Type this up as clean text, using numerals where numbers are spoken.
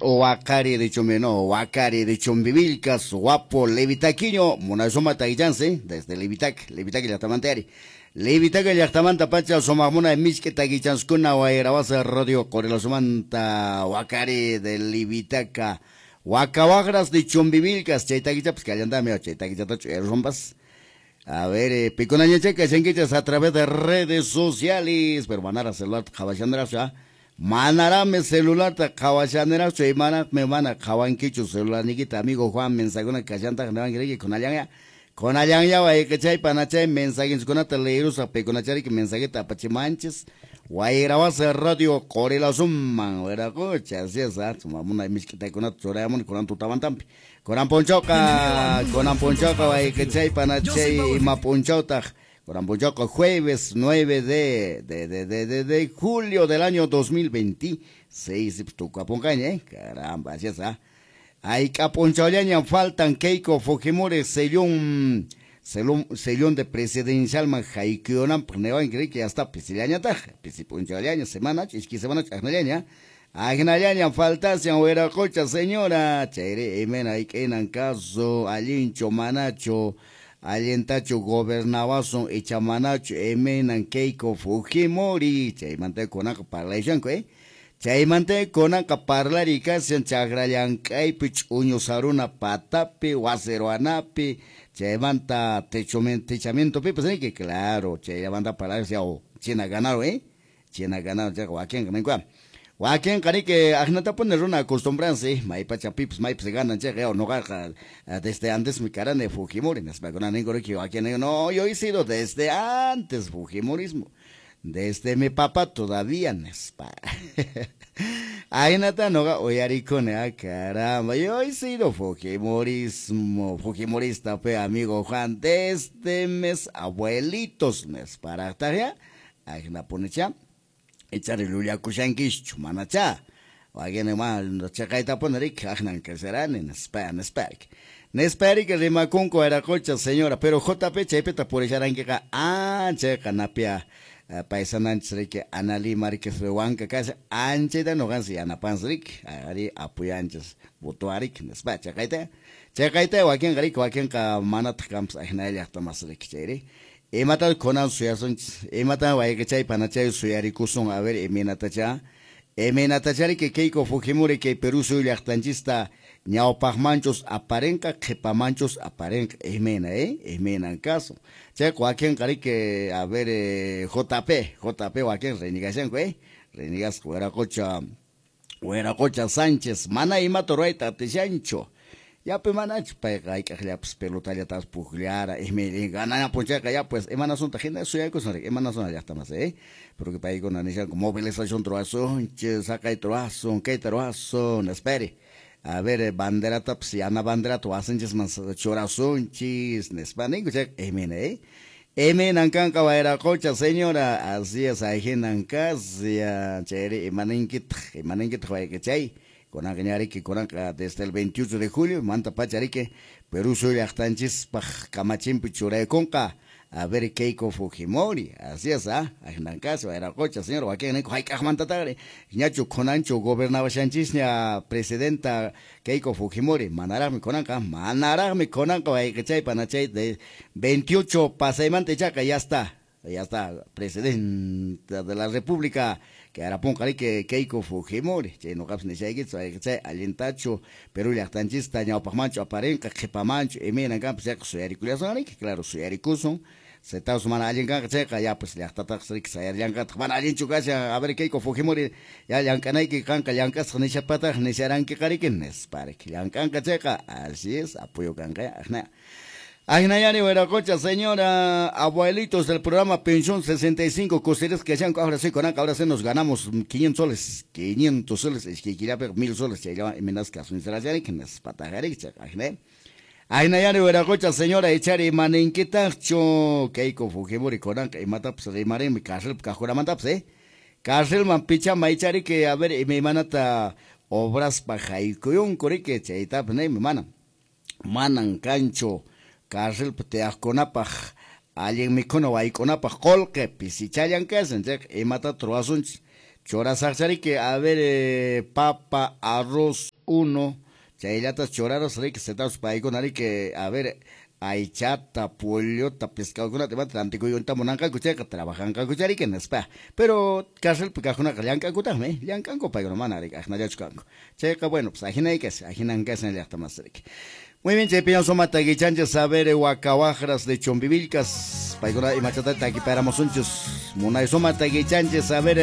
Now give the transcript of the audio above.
Wakari de Chumbi, no, Wakari de Chumbivilcas, guapo Levitaquiño, munasuma taguichansi, desde Levitac, Levitac llaqtamanta. Levitac llaqtamanta pacha sumaqmuna misk'i taguichanskuna Wayrawasa Radio Qorilasumanta Wakari de Levitaca, Wakawagras de Chumbivilcas, chay taguichapas kallantami, chay taguichatachu errompas. A ver, picunañachaca, shankichas a través de redes sociales, pero manara celular qhawashanarachu, manarame celular ta qhawashanarachu, y mana me mana qhawankichu celular nikita, amigo Juan, mensajuna kashantaq niwanki kunallanya, kunallanya wayqichay panachay mensajenkunata leerusaq pikunachariki mensajeta apachimanchis, Wayrawasa Radio Qorilasumman, wiraqucha, así es, munay misk'itakunata churayamuni kunan tutamantampi. Kunan p'unchawqa, kunan p'unchawqa wayqichay panachay ima p'unchawtaq, kunan p'unchawqa jueves 9 de julio del año 2026, tukapunqaña, caramba, así es, Hayk'a p'unchawllaña faltan Keiko Fujimori sellón, sellón de presidencialman haykuyunanpaq niwanki riki, ya está pisillañataq, pisi p'unchawllaña, semana, iskay semana aqnallaña, aqnallaña faltashan wiraqucha señora, chayri imayna hayk'inan caso, allinchu manachu, allintachu gobernawasun icha manachu, imaynan Keiko Fujimori, chaymanta kunanqa parlashanku, chaymanta kunanqa parlari kashan chakra llank'aypi ch'uñu saruna patapi, wasi ruwanapi, chaymanta techamientopipas niki, claro, chaymanta parlarse china ganaron, china ganaron, chayqa wakinqa ninkua. Wakinqa riki aqnatapuni runa acostumbranse, maypacha pipas maypas ganan chayqa, noqaqa desde antes mi karani Fujimori, nispakuna ninku riki, wakin ninku, no, yo he sido desde antes Fujimorismo, desde mi papá todavía nispa. Ahinata noqa uyarikuni, caramba, yo he sido Fujimorismo, Fujimorista fe amigo Juan, desde mis abuelitos nisparaqtaq, ahinapunicha, ichari llullakushankischu manacha, wakin ma chaqaytapuni riki aqnan kasharani nispa, nispa nispa riki rimakunku wiraqucha señora, pero JP chaypita purisharankiqa anchayqa napia paisananchis riki Analí Márquez Huanca kasha anchayta noqansi yanapansi riki, ari apoyanchis votuariki nispa, chaqayta, chaqayta wakinqa riki, wakinqa manataq kanpas aqnallaqtamas riki chayri. Imata kunan suyasunchis, imata wayqichay panachay suyarikusun, a ver, imaynatacha, imaynatacha riki Keiko Fujimori kay Perú suyu llaqtanchista ñawpaqmanchus aparenqa, qhipamanchus aparenqa, imayna, imaynan caso. Chayqa wakinqa riki, a ver, JP, JP wakin renigashanku, renigasqa wiraqucha, wiraqucha Sánchez, mana imata ruwayta atishanchu. Yapi manachu payqa hayk'aqllapas pelotallatapas pukllara, imayna gananapun chayqa ya pues imanasunta hina suyaykusun riki, imanasun llaqtamas, porque paykuna nishanku movilización ruwasunchis, saqayta ruwasun, kayta ruwasun, espere. A ver, banderatapas, yana banderata wasanchisman churasunchis, nispa ninku chayqa, imayna, imaynan kanqa wayraqucha señora, así es, ahinan kasha, chayri imaninkitaq, imaninkitaq wayqichay. Kunanqa ñariki, kunanqa desde el 28 de julio, manta pacha riki, Perú suyu llaqtanchispaq kamachinpi churaykunqa, a ver Keiko Fujimori, así es, ahinan kasha wayraqucha señora, wakin ninku hayk'aqmantataqri, ñachu kunanchu gobernawashanchisña presidenta Keiko Fujimori, manaraqmi kunanqa, manaraqmi kunanqa wayqichay panachay de 28 pasaymanta ichaqa ya está presidenta de la República, que arapunqa riki Keiko Fujimori, chay noqapas nishaykichis wayqichay allintachu Perú llaqtanchista ñawpaqmanchu aparinqa, qhipamanchu, imaynan kanpas chayqa suyarikullasun riki, claro, suyarikusun, setaus mana allin kanqa chayqa ya pues llaqtataqpas riki sayarllanqataq, mana allinchu kashan, a ver Keiko Fujimori, ya llank'anayki kanqa llank'asqa nishapataq nisharankiqa riki, nispa riki, llank'anqa chayqa, así es, apoyo kanqa, aqna. Ahinayani wiraqucha señora, abuelitos del programa Pensión 65, costeres que hayan, ahora sí, con ahora sí nos ganamos 500 soles, 500 soles, es que quería 1000 soles, se llama Emenazca, que nos patajaré, Ahinayani wiraqucha señora, echari maninquitacho, Keiko Fujimori, conanca, y mataps, rimarim, cárcel, cajuramantaps, cárcel, man picha, maichari, que a ver, y mi manata, obras pajaykuyun, corique, chaitap, ne, mi mana, manan cancho. Cárcel tiyaqkunapaq allin mikhuna waykunapaq qullqi pisichallan kashan chayqa imata ruwasunchis churasaqchariki a ver papa arroz. unu chayllatas churarus riki setaus paykuna riki, a ver, aychata, pollota, pescadokunata imata rantikuyta munanqaku chayqa trabajanqaku riki nispa. Pero carcelpi kaqkunaqa llank'ankutaqmi, llank'anku paykuna, mana riki aqnallachu kanku. Chayqa bueno, pues ahinay kashan, ahinan kashan llaqta masi riki. Muy bien, chaypiña suma takichanchis, a ver, Wakawaqras de Chumbivilcas, paykuna imachata takiparamusunchis, munay suma takichanchis, a ver.